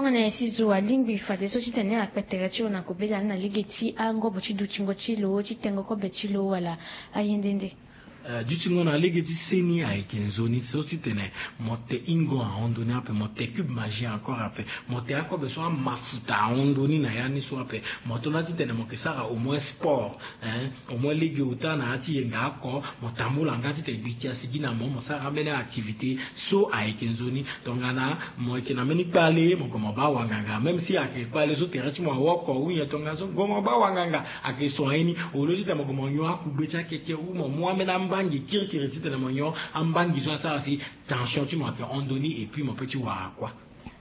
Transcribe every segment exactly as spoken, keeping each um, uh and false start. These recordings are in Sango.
Ane si zo alingbi fadeso titene akpe tere ti lo na kobela ni na lege ti angobo ti dutingo ti lo ti tengo kobe ti lo wala aye nde nde. Dutingo na lege ti seni ayeke nzoni so titene mo te ingo ahon ndoni ape, mo te cube magie encore ape, mo te akobe so amafuta ahon ndoni na ya ni so ape. Mo to na titene mo ke sara au moins sport, eh, au moins lege ota na ya ti yenga oko, mo tambula nga titene gbi kia sigi na mo mo sara ambeni activité so ayeke nzoni. Tongana mo yeke na mbeni kpale mo gue mo baa wanganga, même si ayeke kpale so tere ti mo awoko ou nyen, tongana so gue mo baa wanganga ayeke soin ye ni. Au lieu titene mo gue mo nyon akugbe ti akeke ou mo mu ambeni ambangi kirikiri titene mo nyon ambangi so asara si tension ti mo ayeke hon ndoni et puis mo pe ti wara kuâ.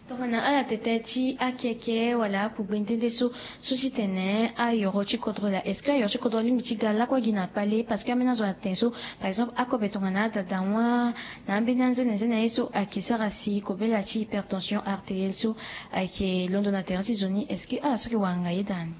Tongana ala tete ti akeke wala akugbe nde nde so, so titene ayoro ti kodro laa, est-ce que ayoro ti kodro alingbi ti ga lakue gi na kpale? Parce que ambeni azo na tene so, par exemple, akobe tongana adada wa na ambeni anzene nzene na ye so ayeke sara si kobela ti hypertension artérielle so ayeke londo na tere ti zo ni, est-ce que ala so ayeke wara ngai ye daa ni?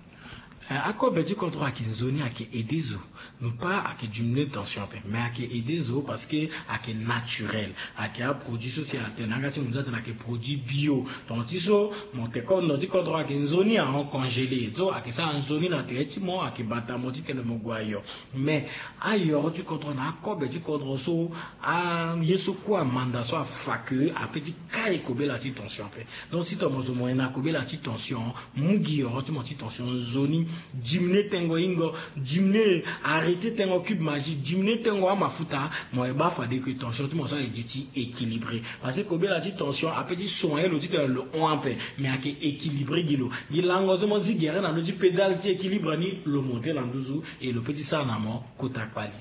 Eh, akobe ti kodro ayeke nzoni, ayeke aide zo. Mpa ayeke diminuer tension ape, mais ayeke aide zo parce que ayeke naturel. Ayeke aproduit so si atene na yanga ti mondia atene ayeke produit bio. Tonga ti so mo te kondo ti kodro ayeke nzoni ahon congelé, so ayeke sara nzoni na tere ti mo, ayeke bata mo titene mo gue ayo. Mais ayoro ti kodro na akobe ti kodro so, aye so kue amanda so afa ke ape ti kai kobela ti tension ape. Donc si tongana mo zo mo yena kobela ti tension, mu gi yoro ti mo ti tension nzoni, diminuer tengo ingo, diminuer, arrêter tengo cube magie, diminuer tengo amafuta. Mo ye baa fade ke tension ti mo so aye duti équilibré. Parce que kobela ti tension ape ti soin lo titene lo hon ape, mais ayeke équilibré gi lo. Gi lango so mo zi gere na ndö ti pédale ti équilibre ni, lo monté na nduzu, et lo pe ti sara na mo kota kpali.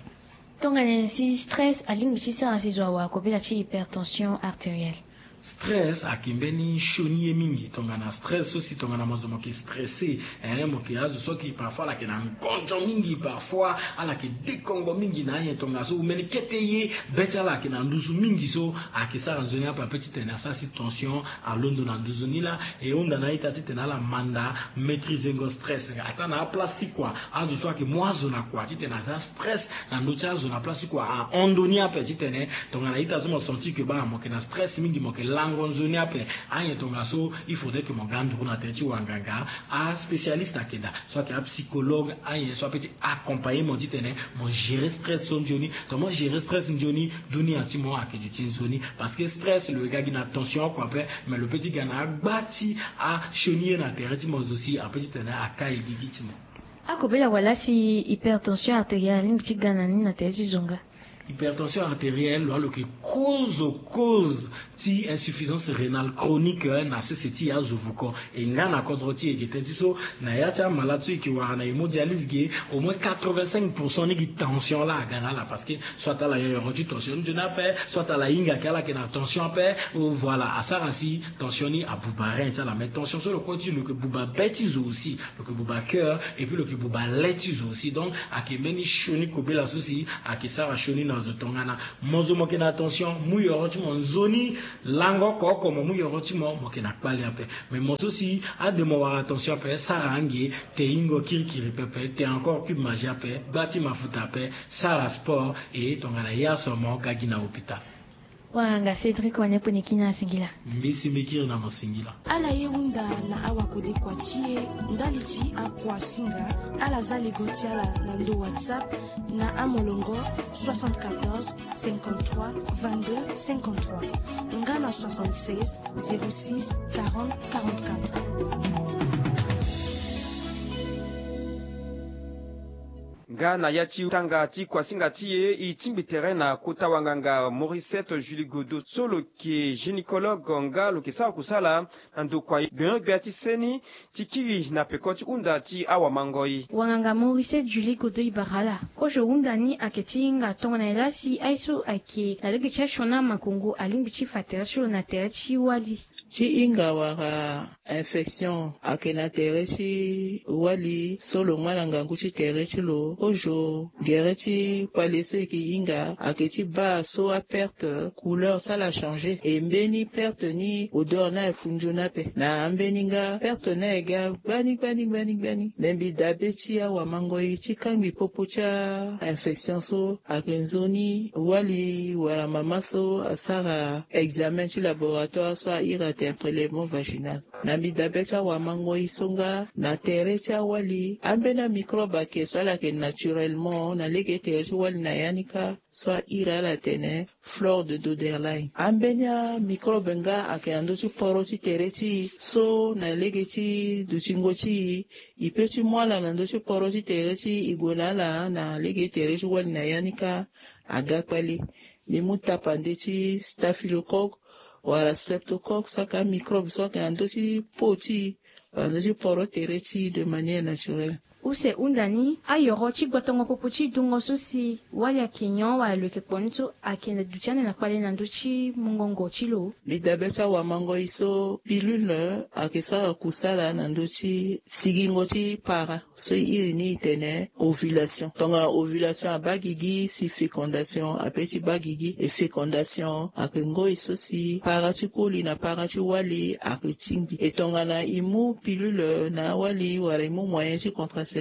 Tongana nyen si stress alingbi ti sara si zo awara kobela ti hypertension artérielle? Stress ayeke mbeni sioni ye mingi. Tongana stress so si tongana mo zo mo yeke stressé, eh, mo yeke azo so ayeke parfois ala yeke na ngonzo mingi, parfois ala yeke dekongo mingi na anyen, tongana so ou mbeni kete ye be ti ala ayeke na nduzu mingi so ayeke sara nzoni ape ape titene asara si tension alondo na nduzu ni laa. E hunda na a-ita titene ala manda maîtriser ngo stress. Ataa na aplace ti kua, azo so ayeke mu azo na kua titene aza stress na ndö ti azo na place ti kua ahon ndoni ape titene tongana ita so mo sentir ke baa mo yeke na stress mingi, mo yeke lango nzoni ape. Anyen tongaso il faudrait ke mo ga nduru na tere ti wanganga, aspécialiste ayeke daa, so ayeke apsychologue, anyen so ape ti accompagner mo titene mo gérer stress so nzoni. Tongana mo gérer stress nzoni, dunia ti mo ayeke duti nzoni. Parce que stress lo ye ga gi na tension oko ape, mais lo pe ti ga na agba ti asioni ye na tere ti mo zo si ape titene akai gigi ti mo. Akobela wala si hypertension artérielle alingbi ti ga na ni na tere ti zo nga? Hypertension artérielle lo yeke cause, cause ti insuffisance rénale chronique, eh, na sese ti azo vuko. E nga na kodro ti e ge tënë ti so na ya ti amalade so e yeke wara na hémodialyse ge, au moins quatre-vingt-cinq pour cent ni gi tension laa aga na ala, parce que soit ala nyon yoro ti tension nzoni ape, soit ala hinga ke ala yeke na tension ape. Oh, voilà, asara si tension ni abuba rein ti ala. Mais tension so lo kue ti lo yeke buba be ti zo aussi, lo yeke buba cœur, et puis lo yeke buba le ti zo aussi. Donc ayeke mbeni sioni kobela so si ayeke sara sioni na zo. Tongana mo zo mo yeke na tension, mu yoro ti mo nzoni, lango oko oko mo mu yoro ti mo, mo yeke na kpale ape. Mais mo so si ade mo wara tension ape, sara ange, te ingo kirikiri pepe, te encore cube magie ape, gba ti mafuta ape, sara sport, e tongana ya so mo ga gi na hôpital. Wanganga Cédric Wanepone Kina, singila. Mbisi mbikiri na mo singila. Ala ye hunda na awakodekua ti e ndali ti akuasinga, ala za lego ti ala na ndo WhatsApp na amolongo soixante-quatorze cinquante-trois vingt-deux cinquante-trois nga na soixante-seize zéro six quarante quarante-quatre. Nga na ya ti tanga ti kuasinga ti e, e tingbi tere na kota wanganga Mauricette Julie Godot so lo yeke gynécologue nga lo yeke sara kusala na ndokua gbenyo-gbia ti seni ti kiri na peko ti hunda ti awamangoi. Wanganga Mauricette Julie Godot, e bara ala. Kozo hunda ni ayeke ti hinga tongana nyen laa si aye so ayeke na lege ti asioni amakongo alingbi ti fa tere ti lo na tere ti wali. Ti hinga wara infection ayeke na tere ti wali so lo ngba na ngangu ti tere ti lo. Kozo gere ti kpale so e yeke hinga ayeke ti baa so aperte couleur so ala changer, e mbeni perte ni odeur ni aye fu nzoni ape. Na ambeni nga perte ni aye ga gbani gbani gbani gbani. Me mbi dabe ti awamangoi ti kangbi popo ti a-infection so ayeke nzoni wali wala mama so asara examen ti laboratoire so a iri tene prélèvement vaginal. Na mbi dabe ti awamangoi so nga na tere ti awali ambeni amicrobe ayeke so ala yeke naturellement na lege tere ti wali na ya ni kâ, so a iri ala atene flore de Doderlein. Ambeni amicrobe nga ayeke na ndö ti poro ti tere ti e so na lege ti dutingo ti e, e pe ti mu ala na ndö ti poro ti tere ti e, e gue na ala na lege tere ti wali na ya ni kâ. Aga kpale. Mbi mu tapande ti staphylocoque wala streptocoque so ayeke amicrobe so ayeke na ndö ti po ti e wala ndö ti poro tere ti e de manière naturelle. Use hunda ni, ayoro ti gbotongo popo ti dungo so si wali ayeke nyon wala lo yeke kpo ni so ayeke na duti ande na kpale na ndö ti mungongo ti lo. Mbi dabe ti awamangoi so pilule ayeke sara kusala na ndö ti sigingo ti para. So e iri ni e tene ovulation. Tongana ovulation abaa gigi si fécondation ape ti baa gigi. E fécondation ayeke ngoi so si para ti koli na para ti wali ayeke tingbi. E tongana e mu pilule na awali wala e mu moyen ti contraception,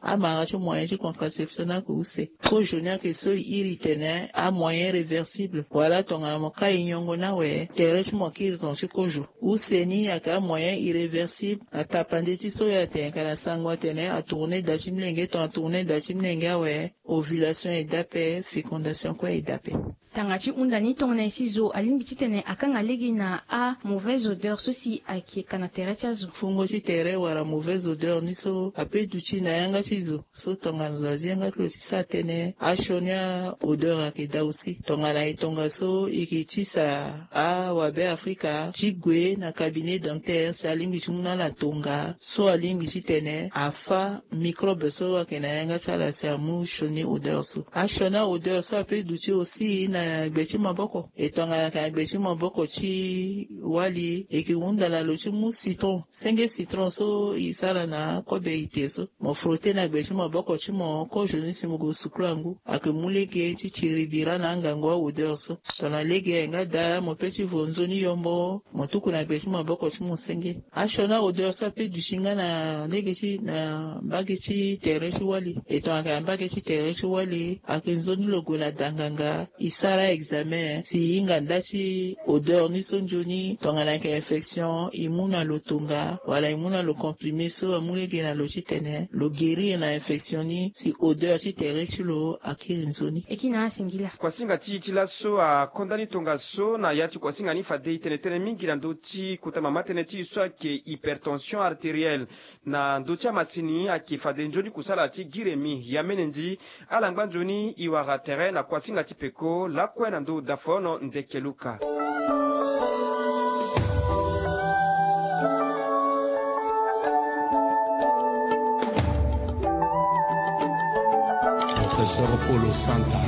amara ti moyen ti contraception ni ayeke use. Kozo ni ayeke so e iri tene amoyen réversible wala tongana mo kai nyongo ni awe tere ti mo akiri tonga ti kozo. Use ni ayeke amoyen irréversible. Atapande ti so e atene ka na sango atene atourne da ti molenge tongana atourne da ti molenge awe, ovulation e daa ape, fécondation kue e daa ape. Tanga ti hunda ni tongana e si zo alingbi titene akanga lege na amauvaise odeur so si ayeke ka na tere ti azo. Fungo ti tere wala mauvaise odeur ni so ape duti na yanga ti zo. So tongana zo azi yanga ti lo ti sara tënë, asioni a-odeur ayeke daa aussi. Tongana e tongaso e yeke tisa awabe afrika ti gue na cabinet dentaire si alingbi ti mu na ala tonga so alingbi titene afâ microbe so ayeke na yanga ti ala si amu sioni odeur so. Asioni a-odeur so ape duti aussi na gbe ti maboko. E tongana ayeke na gbe ti maboko ti wali, e yeke hunda na lo ti mu citron. Senge citron so e sara na akobe ite so, mo frotter na gbe ti maboko ti mo kozo ni si mo gue sukula ngu. Ayeke mu lege ti tiri bira na angangu a-odeur so. Tongana lege ayeke nga daa, mo pe ti vo nzoni yombo, mo tuku na gbe ti maboko ti mo senge. Asioni a-odeur so ape duti nga na lege ti na mbage ti tere ti wali. E tongana ayeke na mbage ti tere ti wali, ayeke nzoni lo gue na danganga, e sara examen si e hinga nda ti odeur ni so nzoni. Tongana ayeke infection, e mu na lo tonga wala e mu na lo comprimé so amu lege na lo titene lo guérir na infection ni si odeur ti tere ti lo akiri nzoni. E kiri na asingila. Kuasinga ti e ti laso akonda ni tongaso na ya ti kuasinga ni fade e tene tënë mingi na ndö ti kota mama tënë ti e so ayeke hypertension artérielle. Na ndö ti amasini ayeke fade nzoni kusala ti giremi. Yamene ndi, ala ngba nzoni e wara tere na kuasinga ti peko lakue na ndö dafono ndeke luka. Professeur Paulo Santa.